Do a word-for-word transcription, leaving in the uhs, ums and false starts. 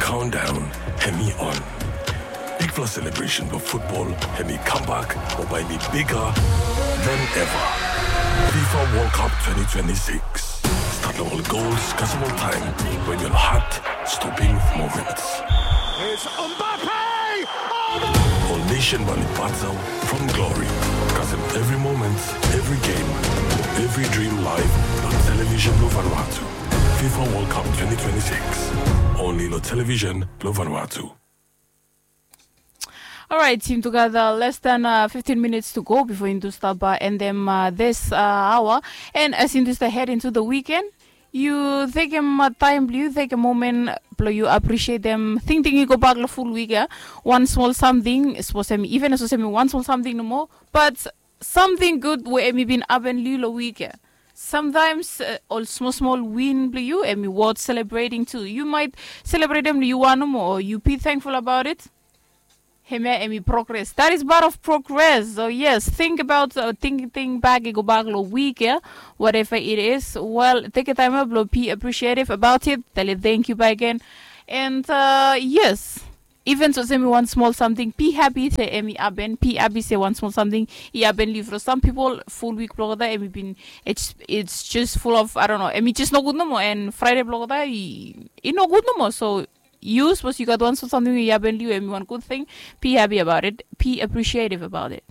Countdown hemi on. Bigfala celebration blong futbol hemi kambak mo bae hemi bigger than ever. FIFA World Cup twenty twenty-six. Start long ol goals kasem ol taem, wen ol heart stopping moments. It's Mbappe! Oh, my Ol nation bae oli batel from glory kasem evri moment, evri game, evri dream live long television blong Vanuatu. FIFA World Cup twenty twenty-six. Only long television blong Vanuatu. Alright, team together. Less than uh, fifteen minutes to go before Hindu stop uh, and them uh, this uh, hour. And as Hindu start head into the weekend, you take him uh, time, you take a moment, blow you appreciate them. Think think you go back the full week, yeah? One small something, suppose him even suppose him one small something no more. But something good we hemi bin happen long week, yeah? Sometimes uh, ol small small win blong you hemi worth celebrating too. You might celebrate them you want more, or you be thankful about it. Hemia hemi progress. That is part of progress. So yes, think about uh, think think back, go back long week, yeah? Whatever it is. Well, take a time up, be appreciative about it. Tell it thank you back again. And uh, yes, even so, semi one small something. Be happy se hemi happen. Be happy se one small something hemi happen long you. For some people, full week blong olgeta hemi bin it's it's just full of, I don't know, hemi just no good no more. And Friday blong olgeta hemi no good no more. So you, suppose you got one small something hemi happen long you, hemi one good thing. Be happy about it. Be appreciative about it.